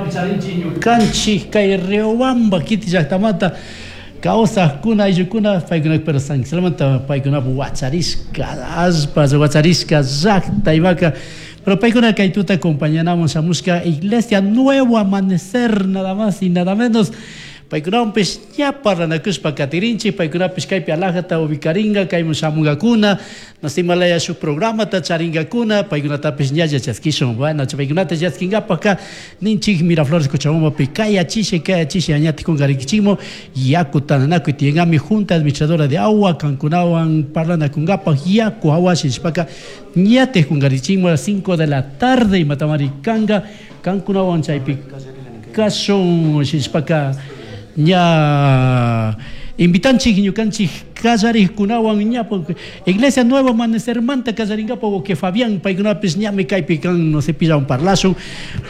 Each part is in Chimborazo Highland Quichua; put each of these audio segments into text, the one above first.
Kaymapi charinchik ñukanchik kay Riobamba kiti llaktamanta kawsajkuna ayllukuna paykuna pero San Ixtlamanta paykunapak wacharishka allpa wacharishka llakta imaka pero paykuna kay tuta acompañanamun shamushka Iglesia Nuevo Amanecer nada más y nada menos paykunawanpish ña parlanakushpa katirinchik paykunapish kaypi alajata ubicaringa kayman shamungakuna Himalaya shuk programata charinkakuna paykunatapish ñalla chaskishun. Bueno, paykunata chaskinkapakka ninchik Miraflores Cochabambapi kayachisha kayachisha ñañatik kunkarikichikmu yaku tantanakuy tiyankami Junta Administradora de Agua kankunawan parlanakunkapak yaku awashi nishpaka ñatik kunkarichikmu a las 5 de la tarde imatamari kanka kankunawan chaypi kashun nishpaka ña invitanchik ñukanchik kallarikkunawan ña Iglesia Nuevo Amanecermanta kallarinkapak wawqi Fabián paykunapish ñami kaypi kan no sé pillawan parlashun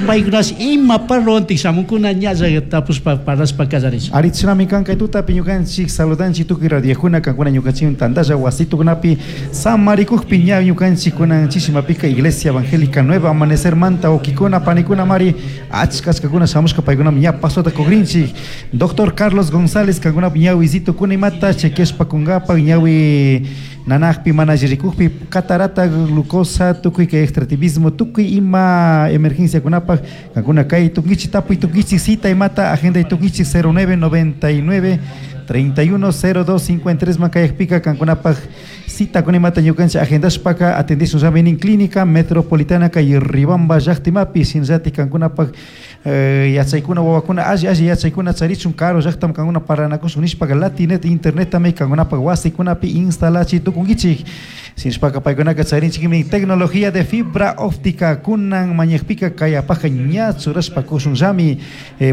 paykunash ima parlowantik shamunkuna ñalla tapushpa parlashpa kallarishun. Ari chashnami kan kay tutapi ñukanchik saludanchik tukuy radiojuna kankuna ñukanchik tantalla wasitukunapi samarikukpi ña ñukanchik kunan chishimapika Iglesia Evangélica Nuevo Amanecermanta wawkikuna panikunamari achka achkakuna shamushka paykunami ña pasota kukrinchik. Doctor Carlos González kankunapak ñawisito kuna imata chequeashpa kunkapak ñawi nanakpi mana alli rikukpi catarata, glucosa, tukuy kay extractivismo, tukuy ima emergenciakunapak kankuna kay tukunkichik tapuy tukunkichik cita imata agenday tukunkichik 09 99 31 02 53 man kayakpika kankunapak cita kuna imata ñukanchik agendashpaka atendishun llami clínica metropolitana kay Riobamba llaktimapi shinallatik kankunapak Yachaykuna wawakuna alli alli yachaykuna charichun karu llaktaman kankuna parlanakushun nishpaka Latinet internetami kankunapak wasikunapi instalachi tukunkichik. Shinashpaka paykunaka charinchikmi tecnología de fibra óptica kunan mañakpika kay apajka ña churashpa kushunllami.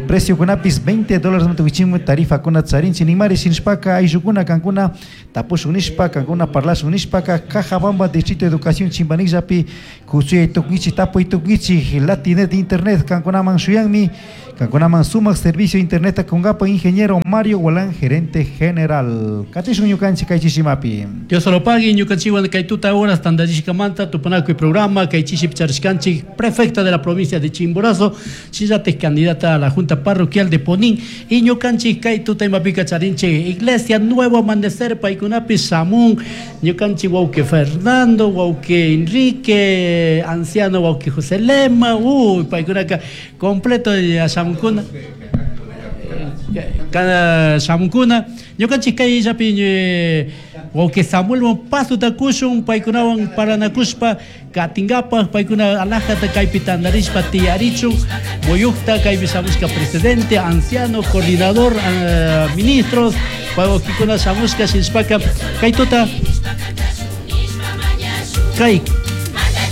Preciokunapis 20 dólares tukuchimui tarifakuna charinchik ninmari shinashpaka ayllukuna kankuna Tapushun nishpa, kankuna parlashun nishpaka, Cajabamba Distrito Educación Chimbanigllapi kutsuyay tukunkichik, tapuy tukunkichik, Latinet Internet kankunaman shuyanmi, kankunaman sumak servicio internetta kunkapak Ingeniero Mario Gualán, gerente general. Katishun ñukanchik kay chishimapi. Dios lo pague, ñukanchikwan kay tuta horas tantallishkamanta tupanakuy programa kay chishipi charishkanchik prefecta de la provincia de Chimborazo, Shinallataj candidata a la Junta Parroquial de Ponín y ñucanchij kay tuta imapika charinchij Iglesia Nuevo Amanecer paykunapi shamun ñucanchij wawqi Fernando, wawqi Enrique, anciano wawqi José Lema, uy paykunaka completo shamunkuna shamunkuna ñucanchij kayllapi wawqi Samuelwan pasota kushun paykunawan paranakushpa Katingapaj paykuna alajata kaypi tantarishpa tiyarichun muyukta kaypi shamushka presidente, anciano, coordinador, ministros, wawaquikuna shamushka shinashpaka kay tuta kay